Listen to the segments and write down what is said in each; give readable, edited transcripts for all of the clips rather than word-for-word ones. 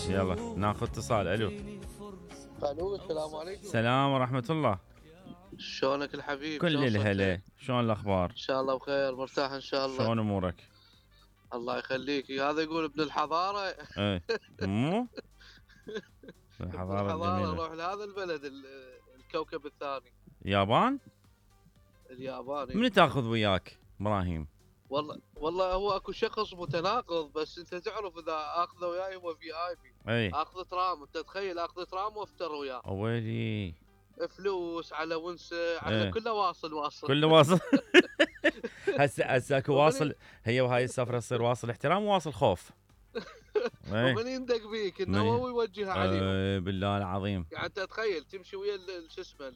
يلا ناخذ اتصال. الو السلام عليكم. السلام ورحمة الله. شلونك الحبيب؟ كل الهلا، شلون الاخبار؟ ان شاء الله بخير، مرتاح ان شاء الله. شلون امورك؟ الله يخليك. هذا يقول ابن الحضاره. ايه مو ابن الحضارة الحضاره، الجميلة. روح لهذا البلد الكوكب الثاني. يابان؟ الياباني. من تاخذ وياك ابراهيم؟ والله هو اكو شخص متناقض، بس انت تعرف اذا اخذه وياي هو في اي بي. اي اخذ ترام، انت تخيل اخذ ترام وافتر وياه. ويلي فلوس على ونسه على ايه. كله واصل كله واصل. هسه اكو واصل. هي وهاي السفرة تصير واصل احترام وواصل خوف. ومن يندق بيك انه هو يوجهها عليهم. بالله العظيم. يعني انت تخيل تمشي ويا شو اسمه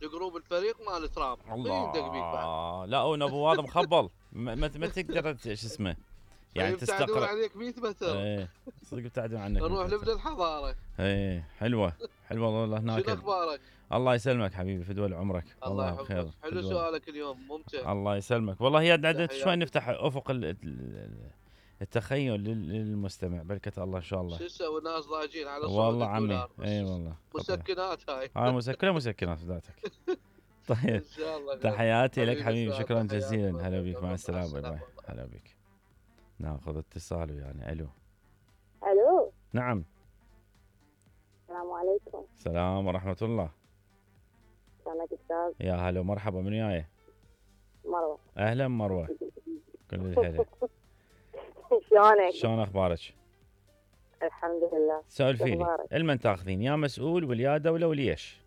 الجروب الفريق مال ترام. الله من يندق بيك بعد؟ لا ونبو هذا مخبل. ما تقدر شو اسمه يعني تستقر عليك 100 متر. ايه صدق ابتعدوا عنك. نروح لابن الحضاره. ايه حلوه والله هناك. شنو اخبارك؟ الله يسلمك حبيبي، فدوى عمرك. الله بخير. حلو سؤالك اليوم، ممتع. الله يسلمك. والله هي عدد شوي نفتح افق التخيل للمستمع. بركة الله ان شاء الله. شو تسوي الناس ضايجين على صوت والله عمي. اي والله مسكنات هاي. مسكنات ذاتك. طيب ان شاء الله. تحياتي لك حبيبي، شكرا جزيلا. هلا بك، مع السلامه. باي. هلا بك. ناخذ اتصال ويانا. الو. نعم. السلام عليكم. السلام ورحمة الله. شلونك استاذ؟ يا هلا ومرحبا. من وياي؟ مروة. اهلا مروة. كل الهلا. شلونك؟ شلون اخبارك؟ الحمد لله. سولفي لي، المن تاخذين يا مسؤول ولا دولة وليش؟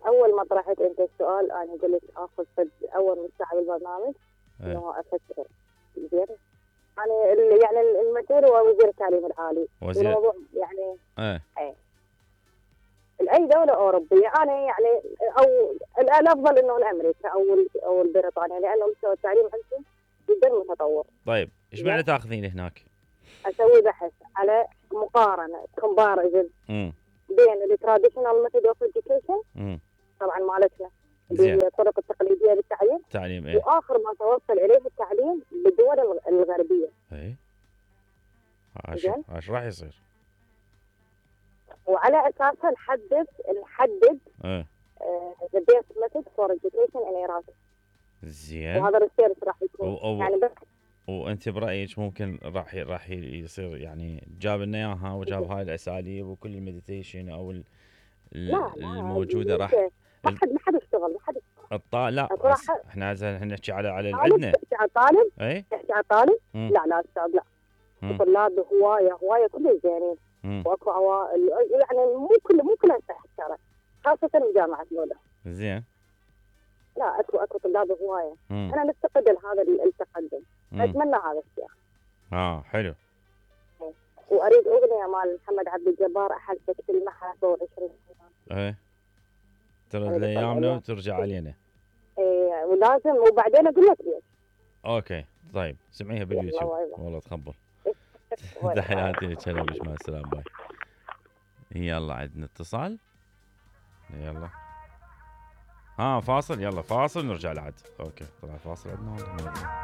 اول ما طرحت انت السؤال انا قلت اخذ اول من ساعة بالبرنامج انه افكر زين. يعني المسؤول هو وزير التعليم العالي. الموضوع يعني لأي دولة أوروبية. أنا يعني أو الأفضل إنه الأمريكا أو البريطانيا، لأنه مستوى التعليم عندهم جدا متطور. طيب إيش معنى تاخذين هناك؟ أسوي بحث على مقارنة كومباريزن بين التراديشنال ميثود أوف إديوكيشن طبعا مالتنا بالطرق التقليدية للتعليم وآخر ما توصل إليه التعليم بالدول الغربية. ايش راح يصير؟ وعلى اساسها نحدد the best method for education in Iraq. زين. وهذا الريسيرش راح يكون يعني وانت برايك ممكن راح يصير يعني جاب لنا اياها وجاب هاي الاساليب وكل المديتيشن او الموجوده راح ما حد اشتغل. لا احنا نحكي على اللي عندنا. تحكي على طالب. تحكي على طالب. لا استاذ لا. الطلاب هوايه كلهم زينين. واكو عوائل يعني مو كلها تحترم، خاصة بجامعة لولا. زين. لا اكو طلاب هواية. انا نفتقد لهذا التقدم. اتمنى هذا الشيء. حلو. واريد اغنية مال محمد عبد الجبار احلفك المحبة 20 سنة. ترد لايامنا وترجع علينا. ولازم وبعدين اقول لك ليش. اوكي طيب سمعيها باليوتيوب. والله تخبل. تحياتي لك. هلا بك، مع السلامة. باي. يلا عندنا اتصال. يلا فاصل. يلا فاصل نرجع لعد. اوكي طلع فاصل عندنا.